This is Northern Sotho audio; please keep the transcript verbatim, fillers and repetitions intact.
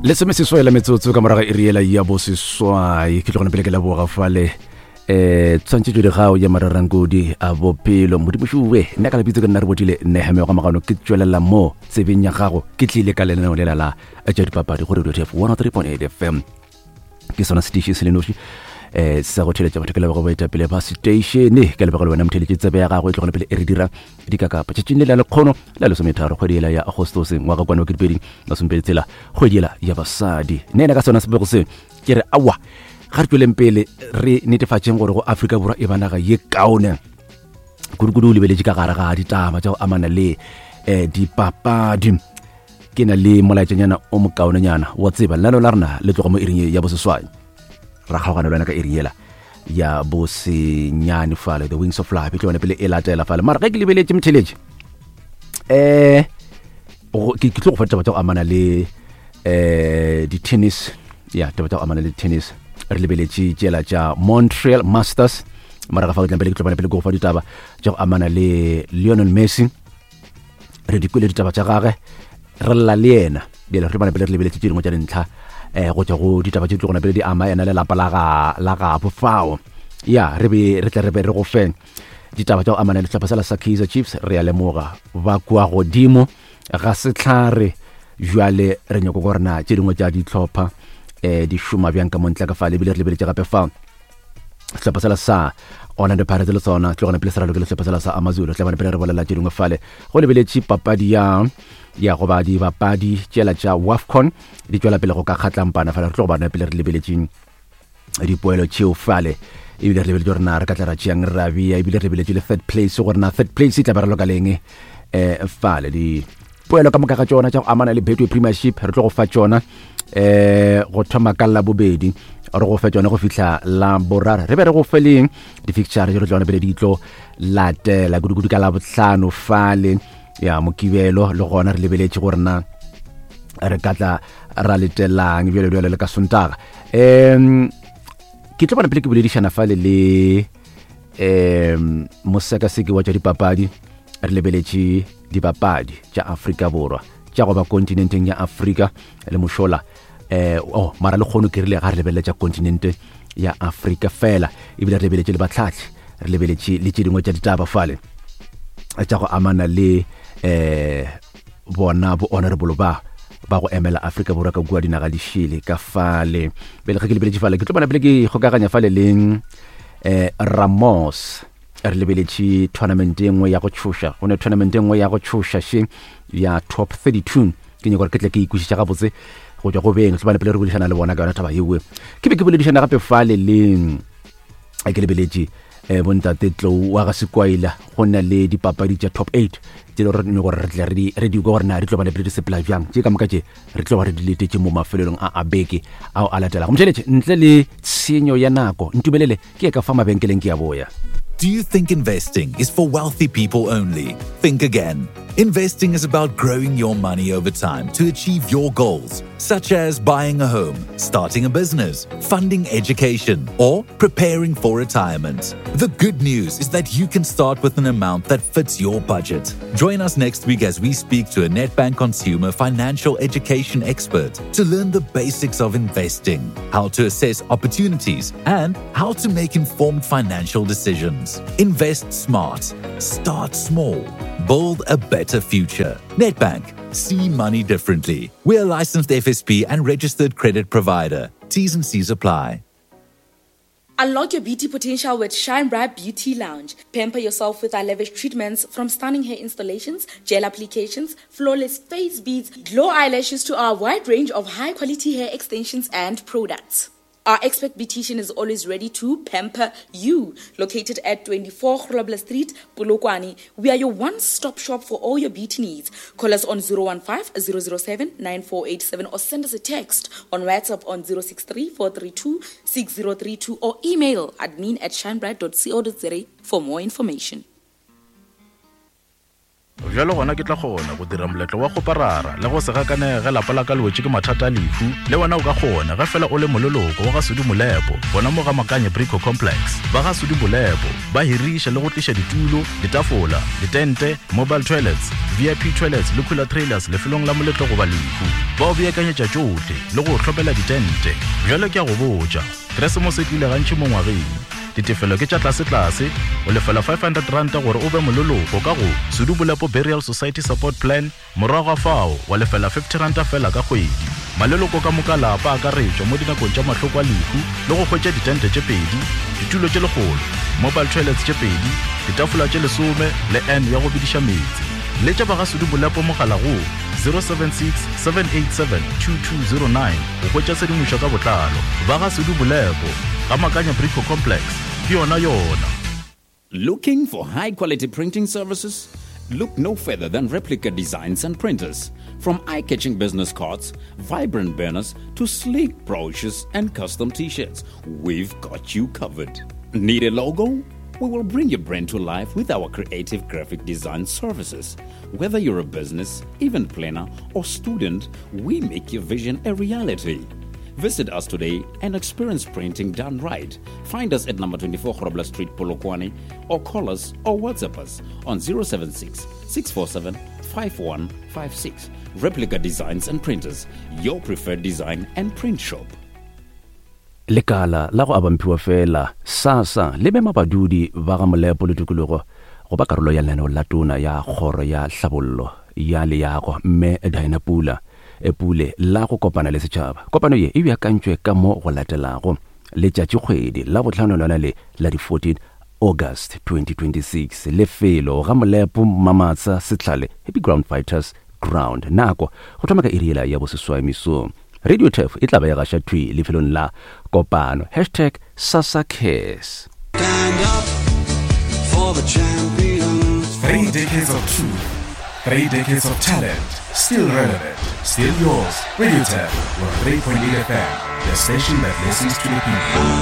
Lesomeseswai la metsotso ka morago iri yela ya boseswai. Ke tlogone pele ke leboga fale um tshwantšhetšo digao ya mararankodi a bophelo modimošowe. Nna ka lebitso ke nna re botile neheme ga magano, ke tswelela mo tsebeng ya gago, ke tlile ka lenaneo lela la tša dipapadi go Radio T F one oh three point eight F M. Ke sona station se le noši um sa go theletša batho. Ke leboga baetapele ba station, ke leboga le wena motheletše tsebe ya gago e tlogone pele e re dira dikakapa. Tšatšing le la lekgono la lesometharo kgwedi ela ya Agostose ngwaga kwane wa ketepedi masomepedi tshela, kgwedi ela ya basadi. Nna ena ka sona sebego se ke re aowa, ga re tsweleng pele re netefatšeng gore go Afrika Borwa e ba naga ye kaone kudu-kudu o lebeletše ka gare ga ditaba tša go amana le um dipapadi. Ke na le molaetšanyana o mokaonenyana wa tseba lenaneo la rena le tloga mo iring ya boseswai, ra kgaogana le wena ka iring yela ya bosenyane fale, The Wings of Life e tlo yone pele e latela fale. Mara ge ke lebeletše motheletše um ke tlo go fa ditaba tša go amana le um di-tennis, ya taba tša go amana le tennis. Re lebeletše tšela tša Montreal Masters, morago fa ke tla pele ke tlo bona pele ke go fa ditaba tša go amana le Lionel Messi. Re di kwele ditaba tša gage, re lla le yena. Bjale re bona pele re lebeletše tše dingwe tša dintlha eh go tšwa go ditaba tše di tlogona pele di ama yena le lapa la ga la gabo fao. Ya re be re tle re be re go fe ditaba tša go amana le sehlopha sela sa Kaizer Chiefs. Re a lemoga ba kua godimo ga sehlare, jwale re nyako gore na tše dingwe tša dihlopha eh di šoma bjang ka montle ka fale. Ebile re lebeletše gape fa sehlopha sela sa Orlando Pirates le sona tlogona pele se raloke le sehlopha sela sa Amazulu. Tla bona pele re bolela tše dingwe fale go lebeletše papadi ya ya goba dibapadi tšela tša WAFCON di tšwela pele go ka kgatlampana fale. Re tlo go bona pele re lebeletše dipoelo tšeo fale, ebile re lebeletše gore na re ka tla ra tšeang ra bea, ebile re lebeletše le third place gore na third place e tla ba re loka leng um fale. Dipoelo ka moka ga tšona tša go amana le Betway Premiership re tlo go fa tšona um go thoma ka la bobedi re go fe tšona go fihla la boraro. Re be re go fe leng di-fixture tše re tlo bona pele di tlo latela kudu-kudu ka la bohlano fale ya Mokibelo, le gona re lebeletše gore na re ka tla ra letelang bjale bjale le ka Sontaga. Um ke tlo bona pele ke boledišana fale le um mosekaseki wa tša dipapadi. Re lebeletše dipapadi tša Afrika Borwa tša go ba kontinenteng ya Afrika le mošola eh oh mara le kgono ke rile ga re lebelele tša kontinente ya Afrika fela, ebile re lebeletše le batlhahli, re lebeletše le tše dingwe tša ditaba fale tša go amana le eh bona bo honorable ba ba go emela Afrika Borwa ka kua dinaga di šele ka fale. Pele ge ke lebeletše fale ke tlo bona pele ke kgokaganya fale le eh Ramos. Re lebeletše tournament e nngwe ya go tšhoša, go ne tournament e nngwe ya go tšhoša še ya top thirty-two. Ke nyaka gore ke tle ke ikwešiša gabotse go tšwa go beng, tlo bona pele re boledišana le bona ka yona taba yeo. Ke be ke boledišana gape fale le ke lebeletše eh bontate Tlou wa ga Sekwaila, go na le dipapadi tša top eight tše le gore gore re tle re di re di kwa gore na di tlo ba le pele di sepela bjang. Tše ka moka tše re tlo ba re di letetše mo mafelelong a a beke ao a latelago. Motheletše ntle le tshenyo ya nako, ntumelele ke ye ka fa mabenkeleng ke ya boya. Do you think investing is for wealthy people only? Think again. Investing is about growing your money over time to achieve your goals, such as buying a home, starting a business, funding education, or preparing for retirement. The good news is that you can start with an amount that fits your budget. Join us next week as we speak to a Nedbank consumer financial education expert to learn the basics of investing, how to assess opportunities, and how to make informed financial decisions. Invest smart. Start small. Build a better future. Nedbank. See money differently. We're a licensed F S P and registered credit provider. T's and C's apply. Unlock your beauty potential with Shine Bright Beauty Lounge. Pamper yourself with our lavish treatments, from stunning hair installations, gel applications, flawless face beads, glow eyelashes to our wide range of high-quality hair extensions and products. Our expert beautician is always ready to pamper you. Located at twenty-four Grobler Street, Polokwane, we are your one-stop shop for all your beauty needs. Call us on zero one five, zero zero seven, nine four eight seven or send us a text on WhatsApp on zero six three, four three two, six zero three two or email admin at shinebright dot co dot za for more information. Bjalo gona ke tla kgona go dira moletlo wa kgoparara le go se gakanege ge lapa la ka le wetše ke mathata a lehu. Le wena o ka kgona ge fela o le moleloko wa ga Sudi Molepo gona mo ga Makanye Brico Complex. Ba ga Sudi Molepo ba hiriša le go tliša ditulo, ditafola, ditente, mobile toilets, V I P toilets le cooler trailers lefelong la moletlo goba lehu. Ba o beakanyetša tšohle le go o hlopela ditente. Bjalo ke a go botša, Keresemose e tlile gantši mo ngwageng. Ditefelo ke tša tlase-tlase, o lefela five hundred ranta gore o be moleloko ka go Sudi Molepo Burial Society Support Plan, morago ga fao wa lefela fifty ranta fela ka kgwedi. Maleloko ka moka lapa a akaretšwa mo dinakong tša mahloko a lehu le go hwetša ditente tše pedi, ditulo tše lekgolo, mobile toilets tše pedi, ditafola tše lesome le N ya go bediša meetse. Letša ba ga Sudi Molepo mogala go zero seven six, seven eight seven, two two zero nine go hwetša tshedimošo ka botlalo. Ba ga Sudi Molepo, ga Makanya Brico Complex, ke yona yona. Looking for high-quality printing services? Look no further than Replica Designs and Printers. From eye-catching business cards, vibrant banners, to sleek brochures and custom t-shirts, we've got you covered. Need a logo? We will bring your brand to life with our creative graphic design services. Whether you're a business, event planner, or student, we make your vision a reality. Visit us today and experience printing done right. Find us at number twenty-four Grobler Street, Polokwane, or call us or WhatsApp us on zero seven six, six four seven, five one five six. Replica Designs and Printers, your preferred design and print shop. Lekala la go abamphiwa fela SASSA le mema badudi ba ga Molepo le tikologo go ba karolo ya lenaneo la tona ya kgoro ya hlabollo ya leago mme Diana Pula e Pule la go kopana le setšhaba. Kopano ye e beakantšwe ka mo go latelago letšatšikgwedi la bohlano lona le la di fourteen August twenty twenty-six, lefelo ga Molepo Mamatsa Setlhale Happy Ground Fighters Ground, nako go thoma ka iri yela ya boseswai mesong. Radio Turf e tla ba e gaša thwi lefelong la kopano. Hashtag SASSA Cares. Stand up for the champions. Three decades of truth, three decades of talent, still relevant, still yours. Radio Turf, one three point eight F M, the station that listens to the people.